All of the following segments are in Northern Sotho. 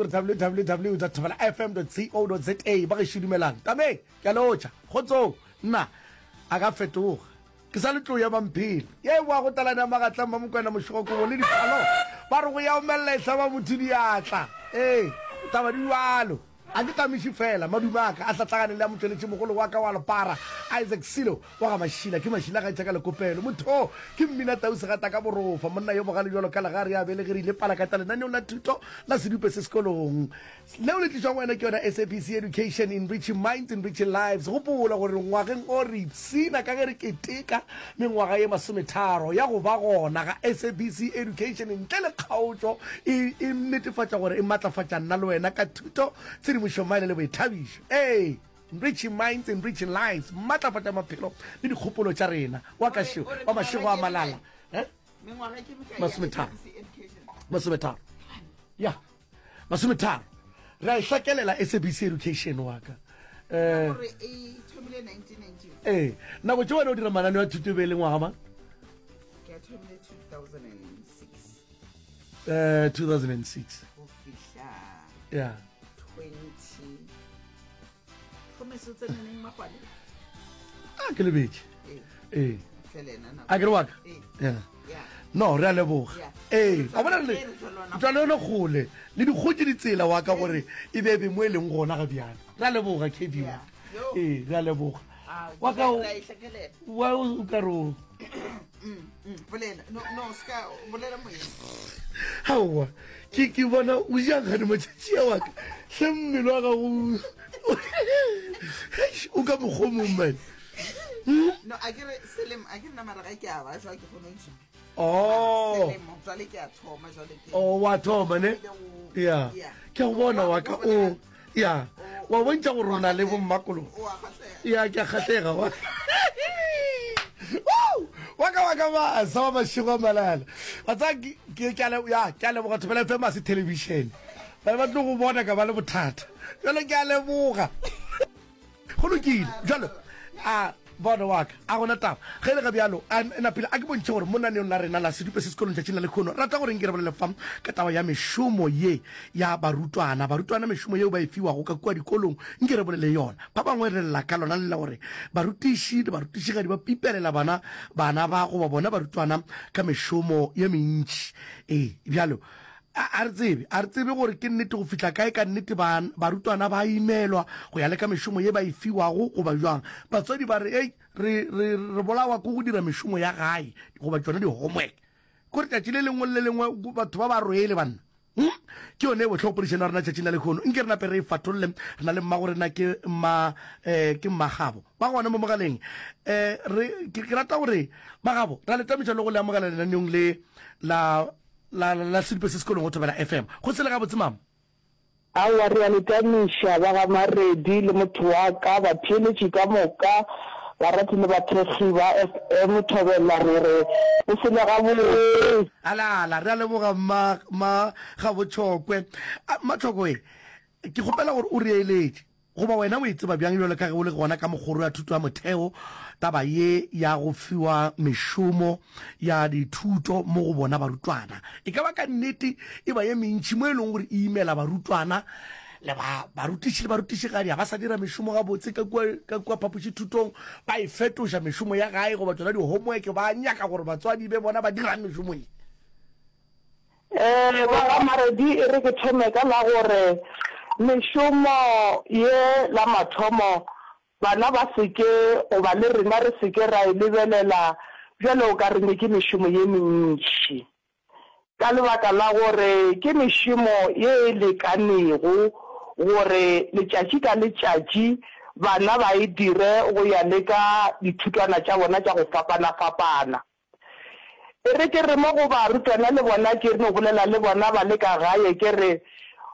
gore www dot thobela fm dot co dot za. Ba gešo dumelang. Tameng, ke a lotšha. Kgotsong. Nna, a ka fetoga. Ke sa le tlou ya Mamphele. Ye e boago talane ya magatla Mmamokwena Mošogokobo le diphalo. Ba re go ya omelela e hlaba motho diatla. Ee, taba di bjalo. A ke tamiše fela, madume a ka a hlatlagane le a motšweletši mogolo wa ka wa lepara, Isaac Silo wa ga Mašila. Ke Mašila ga etša ka lekopelo. Motho ke mmina tau segata ka borofa, monna yo bogale bjalo ka legare ya belegerile palakata lenaneong la thuto la sedupe se sekolong. Leo le tlišwago wena ke yona SABC Education, Enriching Minds, Enriching Lives. Gopola gore ngwageng o re ipshina ka ge re keteka mengwaga ye masometharo ya go ba gona ga SABC Education ntle le kgaotšo e, e netefatša gore e matlafatša nna le wena ka thuto, tshedimošo, maele le boithabišo. Ee, Enriching Minds, Enriching Lives, matlafatša maphelo le dikgopolo tša rena. Wa ka šeo, wa mašego a malala. Eh? Masometharo. Masometharo. Ya. Masometharo. Re a e hlakelela SABC Education wa ka. Eh, ee, nako tše wena o dira mananeo a thuto e be e le ngwaga mang? Ke a thomile 2006. Eh, 2006. Go fihla. Yeah. 20. Gomme se o tsene neng Magwale? A ke lebetše. Ee. A ke re wa ka? Yeah. No, re a leboga. Ee, wa bona re tšwa le yone kgole le dikgotše ditsela wa ka gore e be be mo e leng gona ga bjale. Re a leboga KB wa ka. Ee, re a leboga. Wa ka wa o ka re o Bolela. No, no, ska bolela moyeng. Aowa, ke ke bona o ja gane matšatši a wa ka. Hle mmele wa gago o ka mokgwa o mongwe man. Hmm? No, a ke re selemo, a ke re nama ga ke a ba jwa ke kgone go Oh. Selemo, jwale ke a thoma jwale ke. Oh, wa thoma ne? Ya. Ke go bona wa ka o. Ya. Wa bontša gore o na le bommakolo. Ya ke a kgahlega wa. Wa ka wa ka ba sa wa mašego a malala. Wa tsaya ke ke a ya ke a leboga Thobela FM a se television. Ba ba tlo go bona ka ba le bothata. Jwale ke a leboga. Go lokile. Bjalo, a bona wa ka, a gona taba. Ge e le ga bjalo, a napile a ke bontšhe gore mo naneong la rena la Sedupe se Sekolong tšatšing la lekhono, rata gore nke re bolele fa ka taba ya mešomo ye ya barutwana. Barutwana mešomo yeo ba e fiwago ka kua dikolong, nke re bolele yona. Ba bangwe re lla ka lona le la gore barutiši le barutišigadi ba pipelela bana, bana ba goba bona barutwana ka mešomo ye mentši. Ee, bjalo, A, a re tsebe, a re tsebe gore ke nnete go fihla kae ka nnete ba, barutwana ba imelwa go ya le ka mešomo ye ba e fiwago goba bjang. Batswadi ba re, Ei, re, re, re bolawa ke go dira mešomo ya gae goba tšona di-homework. Kore tšatši le lengwe le le lengwe batho ba ba rwele banna. Hmm? Ke yone e bohloko poledišano ya rena tšatšing la lehono. Nke re nape re e fatolle. Re na le mmago rena ke mma, eh, ke mmagabo. Ba gona mo mogaleng. Eh, re, ke, ke rata gore magabo, ra le tamiša le go le amogela lenaneong le la La, la, la Sedupe se sekolong go Thobela FM. Go sele gabotse, mama? Aowa, re a le tamiša, ba ga Maredi le motho wa ka, batheeletši ka moka, barati le bathekgi ba FM Thobela, re re go sele gabotse. Ala, ala, re a leboga, mma, mma Gabotšhokwe. A, mma Tšhokwe, ke kgopela gore o re eletše. Goba wena o e tseba bjang bjalo ka ge o le gona ka mokgoro ya thuto ya motheo taba ye ya go fiwa mešomo ya dithuto mo go bona barutwana e ka ba ka nnete e ba ye mentši mo e leng gore e imela barutwana le ba barutiši le barutišigadi ga ba sa dira mešomo gabotse ka kua ka kua phapošithutong ba e fetoša mešomo ya gae goba tšona di-homework ba nyaka gore batswadi be bona ba dirang mešomo ye. Ee, ba ga Maredi e re ke thome ka la gore mešomo ye la mathomo bana ba se ke goba le rena re se ke ra e lebelela bjalo o ka re ne ke mešomo ye mentši ka lebaka la gore ke mešomo ye e lekanego gore letšatši ka letšatši bana ba e dire go ya le ka dithutwana tša bona tša go fapana-fapana. E re ke re mo go barutwana le bona ke no bolela le bona ba le ka gae ke re,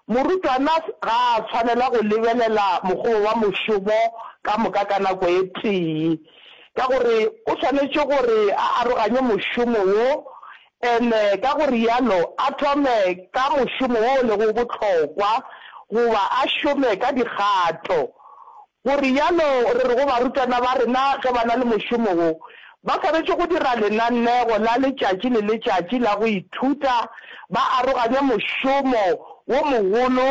morutwana ga a tshwanela go lebelela mokgobo wa mošomo ka moka ka nako e tee, ka gore o swanetše gore a aroganye mošomo wo ene ka go realo a thome ka mošomo wo o lego bohlokwa goba a šome ka dikgato Go rialo re re go barutwana ba rena ge ba na le mošomo wo, ba swanetše go dira lenanego la letšatši le letšatši la go ithuta, ba aroganye mošomo wo mogolo.